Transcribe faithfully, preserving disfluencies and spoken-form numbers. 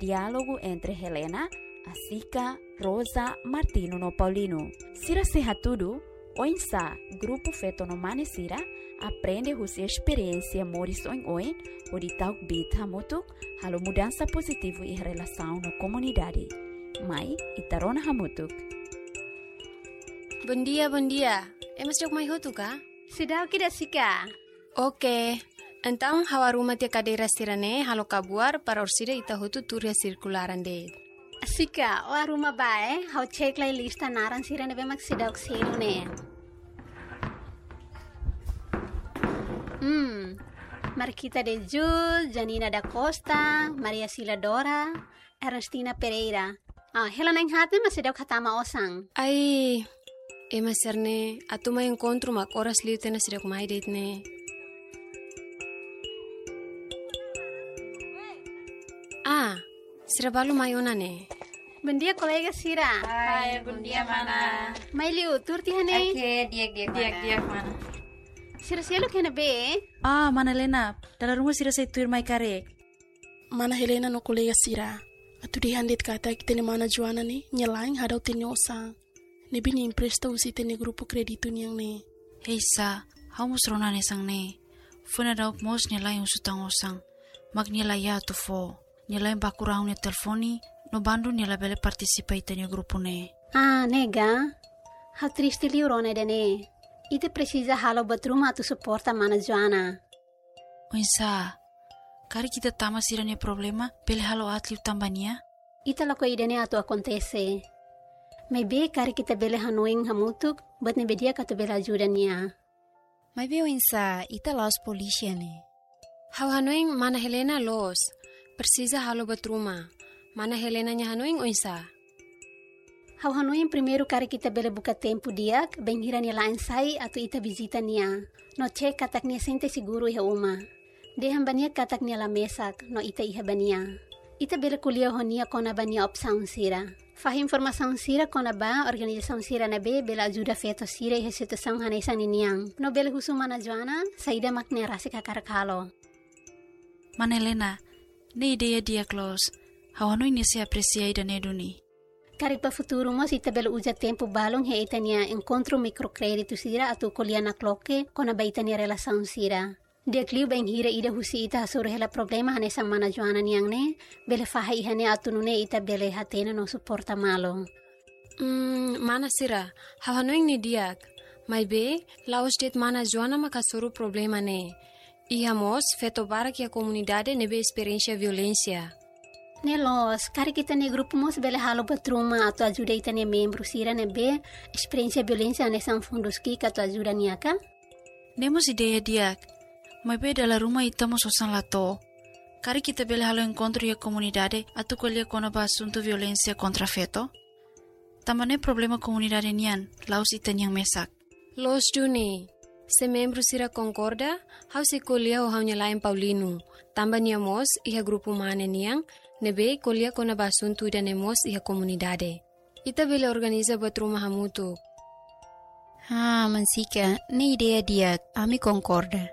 Diálogu entre Helena, Asika, Rosa, Martino no Paulino. Sira sei hatudu oinsá grupu feto no mane sira aprende husi esperiénsia moris oin-oin hodi ta'uk biit hamutuk, halo mudansa pozitivu iha relasaun no komunidade. Mai, ita rona hamutuk. Bondia, bondia. Ema seidauk mai hotu ka? Seidauk ida, Asika. Oke. Entaun, ha'u arruma tiha kadeira sira-ne'e halo kabuar para orsida ita hotu tuur iha sirkularan de'it. Asika, ó arruma bá, eh? Ha'u cek lai lista naran sira ne'ebé mak seidauk selu ne'e. Hmm. Marquita de Jus, Janina da Costa, Maria Sila Dora, Ernestina Pereira. Ah, hela na'in-haat ne'e mak seidauk hatama osan. Ai, ema sira-ne'e atu mai enkontru mak oras liu tiha ona seidauk mai de'it ne'e. Ah, sira balu mai ona ne'e. Bondia, kolega sira. Hai, bondia, mana. Mai liu, tuur tiha ne'e. Oke, di'ak, di'ak, di'ak, mana. Di'ak, mana. Sira seluk iha ne'ebé? Ah, mana Helena, dala ruma sira sei tuir mai karik. Mana Helena no kolega sira, atu dehan de'it katak ita-nia mana Joana ne'e, nia la'en hadau tiha nia osan. Ne'ebé nia empresta husi ita-nia grupu kréditu nian ne'e. Hei Sa, ha'u mós rona hanesan ne'e. Foin daudauk mós nia la'en husu tan osan. Mak nia la iha atu fó. Nia la'en baku rahun nia telefone, no bandu nia labele partisipa ita-nia grupu ne'e. Ah, ne'e ka? Ha'u triste liu rona ida-ne'e. Ita presiza halo buat ruma atu suporta mana Joana. Oinsá, karik ita tama sira-nia problema, bele halo aat liu tan ba nia? Ita lakohi ida-ne'e atu akontese. Maibé karik ita bele hanoin hamutuk, buat ne'ebé di'ak atu bele ajuda nia. Maibé oinsá, ita la'ós polísia ne'e. Ha'u hanoin mana Helena loos, presiza halo buat ruma. Mana Helena nia hanoin oinsá? Ha'u hanoin primeiru karik ita bele buka tempu di'ak, bainhira nia la'en sai atu ita vizita nia. No cek katak nia sente seguru iha uma. Dehan ba nia katak nia la mesak, no ita iha ba nia. Ita bele ko'alia ho nia kona-ba nia opsaun sira. Fahe informasaun sira kona-ba organizasaun sira ne'ebé bele ajuda feto sira iha situasaun hanesan ninian. No bele husu mana Joana, saida mak nia rasik hakarak halo. Mana Helena, ne'e ideia di'ak loos. Ha'u hanoin nia sei apresia ida-ne'e duni. Karik ba futuru mós ita bele uza tempu balun iha ita-nia enkontru mikrokréditu sira atu ko'alia nakloke kona-ba ita-nia relasaun sira. Di'ak liu bainhira ida husi ita hasoru hela problema hanesan mana Joana nian ne'e, bele fahe iha ne'e atu nune'e ita bele hatene no suporta malu. Hmm, mana sira, ha'u hanoin ne'e di'ak. Maibé, la'ós de'it mana Joana mak hasoru problema ne'e. Iha mós feto barak iha komunidade ne'ebé esperiénsia violénsia. Ne'e loos, karik ita-nia grupu mós bele halo buat ruma atu ajuda ita-nia membru sira ne'ebé esperiénsia violénsia hanesan fundus ki'ik atu ajuda nia ka? Ne'e mós ideia di'ak. Maibé dala ruma ita mós osan la to'o. Karik ita bele halo enkontru iha komunidade atu ko'alia kona-ba asuntu violénsia kontra feto? Tanba ne'e problema komunidade nian, la'ós ita-nian mesak. Loos duni, se membru sira konkorda, ha'u sei ko'alia ho ha'u-nia la'en Paulino. Tanba nia mós iha grupu mane nian, ne'ebé ko'alia kona-ba asuntu ida-ne'e mós iha komunidade. Ita bele organiza buat ruma hamutuk. Ha, Mansika, ne'e ideia di'ak, ami konkorda.